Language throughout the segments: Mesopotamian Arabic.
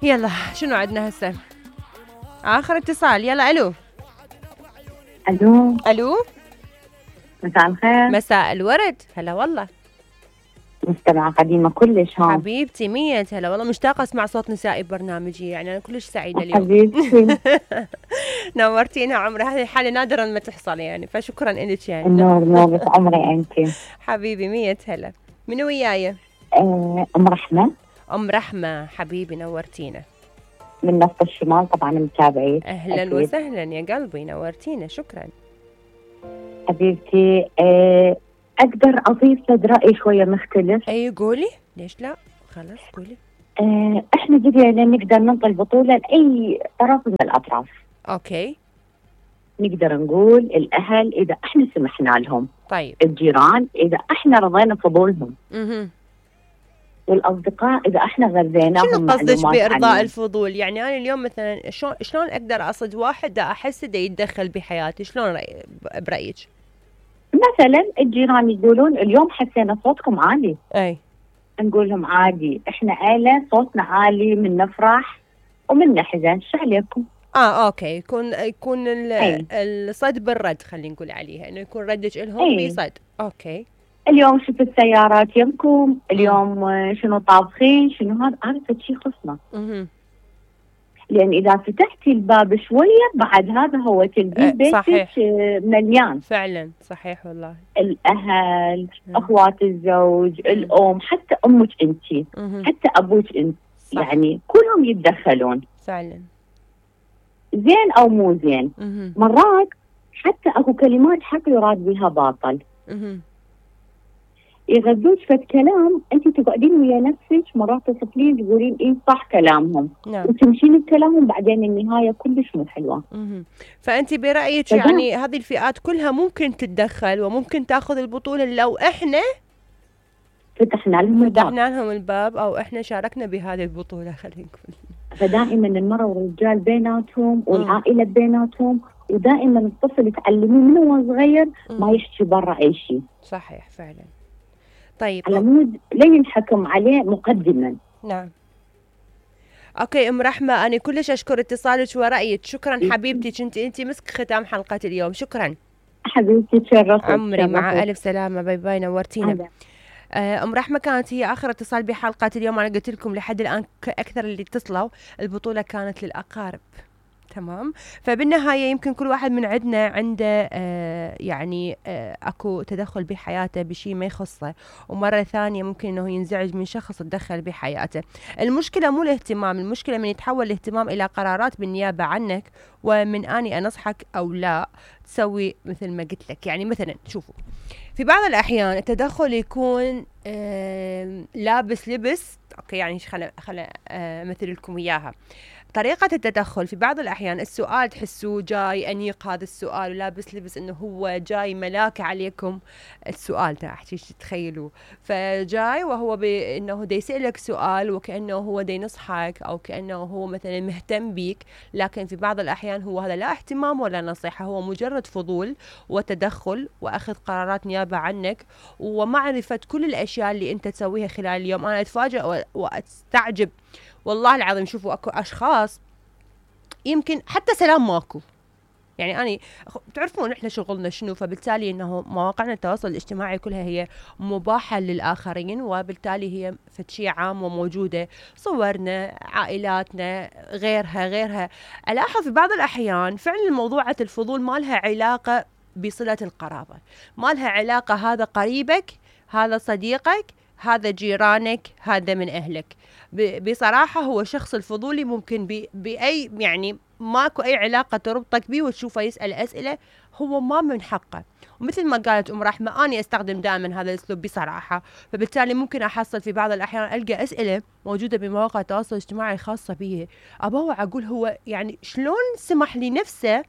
يلا شنو عندنا هسه؟ آخر اتصال. يلا ألو. الو، ألو، مساء الخير. مساء الورد. هلا والله. مستمعة قديمة كلش. ها حبيبتي مية هلا والله، مشتاقة أسمع صوت نسائي ببرنامجي، يعني أنا كلش سعيدة اليوم. حبيبتي. نورتينا عمري، هذه حالة نادرا ما تحصل يعني، فشكرا إلك يعني. النور نورة عمري انت. حبيبي مية هلا. منو وياي؟ ام رحمة أم رحمة. حبيبي نورتينا. من نفط الشمال، طبعا متابعيك. أهلا أكيد. وسهلا يا قلبي، نورتينا، شكرا. حبيبتي، اقدر اضيف صد رأي شوية مختلف. أي قولي، ليش لا؟ خلاص قولي. احنا بدينا نقدر ننطي البطولة لأي طرف من الأطراف. أوكي. نقدر نقول الأهل إذا احنا سمحنا لهم، طيب. الجيران إذا احنا رضينا فضولهم، والأصدقاء إذا احنا غذيناهم. شنو قصدك بإرضاء عنهم. الفضول؟ يعني أنا اليوم مثلا شلون أقدر أصد واحد دا أحس دا يتدخل بحياتي؟ شلون برأيك؟ مثلا الجيران يقولون اليوم حسينا صوتكم عالي، أي نقول لهم عادي، احنا عيلة صوتنا عالي، من نفرح ومن نحزن، شو عليكم؟ اوكي، يكون الصد بالرد، خلينا نقول عليها انه يكون ردك لهم بصد. اوكي. اليوم شفت السيارات يمكم، اليوم شنو طابخين، شنو هذا شيء خصنا. لان اذا فتحتي الباب شويه بعد هذا هو تلقين بيتك مليان. فعلا صحيح والله. الاهل، اخوات الزوج، الام، حتى امك انت، حتى ابوك انت، يعني كلهم يتدخلون. فعلا. زين او مو زين. مرات حتى اكو كلمات حتى يراد بها باطل. يغذوك فد كلام، انت تقعدين ويا نفسك مرات تصفلين تقولين ايه صح كلامهم. نعم. وتمشين بكلامهم، بعدين النهايه كلش مو حلوه. فانت برايك يعني هذه الفئات كلها ممكن تتدخل وممكن تاخذ البطوله لو احنا فتحنا لهم الباب او احنا شاركنا بهذه البطوله، خلينا نقول. فدائما المرأة والرجال بيناتهم والعائلة بيناتهم، ودائما الطفل تعلميه من هو صغير ما يحكي برا أي شيء. صحيح فعلا. طيب على مود لا ينحكم عليه مقدما. نعم. اوكي ام رحمة، انا كلش اشكر اتصالك ورأيك، شكرا حبيبتي، انت مسك ختام حلقة اليوم، شكرا حبيبتي، تشرفت عمري. مع الف سلامة، باي باي، نورتينا. ام رحمة كانت هي اخر اتصال بحلقة اليوم. انا قلت لكم لحد الان اكثر اللي اتصلوا البطولة كانت للاقارب، تمام. فبالنهاية يمكن كل واحد من عندنا عنده يعني اكو تدخل بحياته بشيء ما يخصه، ومرة ثانية ممكن انه ينزعج من شخص تدخل بحياته. المشكلة مو الاهتمام، المشكلة من يتحول الاهتمام الى قرارات بالنيابة عنك، ومن اني انصحك او لا تسوي مثل ما قلت لك. يعني مثلا شوفوا، في بعض الأحيان التدخل يكون لابس لبس، أوكي يعني خل أمثل لكم إياها. طريقة التدخل في بعض الأحيان السؤال تحسوه جاي أنيق، هذا السؤال ولابس لبس إنه هو جاي ملاك عليكم. السؤال تاعتي تخيلوا، فجاي وهو إنه دا يسألك سؤال وكأنه هو دا ينصحك أو كأنه هو مثلا مهتم بيك، لكن في بعض الأحيان هو هذا لا اهتمام ولا نصيحة، هو مجرد فضول وتدخل وأخذ قرارات نيابة عنك ومعرفة كل الأشياء اللي أنت تسويها خلال اليوم. أنا أتفاجأ وأستعجب والله العظيم. شوفوا اكو اشخاص يمكن حتى سلام ماكو، يعني أنا تعرفون إحنا شغلنا شنو، فبالتالي إنه مواقعنا التواصل الاجتماعي كلها هي مباحة للآخرين، وبالتالي هي فشي عام وموجودة، صورنا، عائلاتنا، غيرها. ألاحظ في بعض الأحيان فعلا موضوعة الفضول ما لها علاقة بصلة القرابة، ما لها علاقة هذا قريبك، هذا صديقك، هذا جيرانك، هذا من أهلك. بصراحة هو شخص الفضولي ممكن بأي يعني ماكو أي علاقة تربطك بيه وتشوفه يسأل أسئلة هو ما من حقه. ومثل ما قالت أم رحمة أنا أستخدم دائما هذا الأسلوب بصراحة، فبالتالي ممكن أحصل في بعض الأحيان ألقى أسئلة موجودة بمواقع التواصل الاجتماعي خاصة به، أبوع أقول هو يعني شلون سمح لنفسه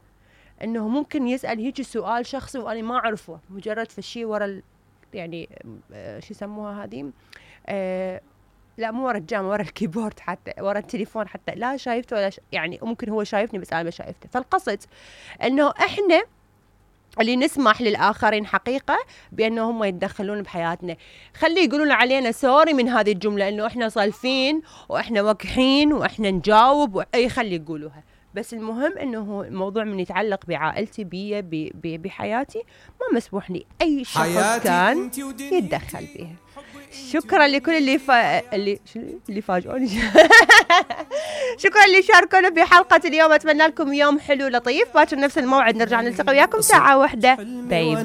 أنه ممكن يسأل هيك سؤال شخصي وأنا ما أعرفه، مجرد فشي ورا يعني شو يسموها هذه لا مو ورا الجام، ورا الكيبورد، حتى ورا التليفون، حتى لا شايفته ولا يعني ممكن هو شايفني بس أنا ما شايفته. فالقصد أنه إحنا اللي نسمح للآخرين حقيقة بأنه هم يتدخلون بحياتنا. خلي يقولون علينا سوري من هذه الجملة إنه إحنا صالفين وإحنا وقحين وإحنا نجاوب أي خلي يقولوها، بس المهم إنه الموضوع من يتعلق بعائلتي بحياتي ما مسموح لي أي شخص كان يتدخل بها. شكرا لكل اللي فاجئوني شكرا اللي شاركونا بحلقة اليوم. أتمنى لكم يوم حلو لطيف. باكر نفس الموعد نرجع نلتقي وياكم ساعة واحدة. باي باي.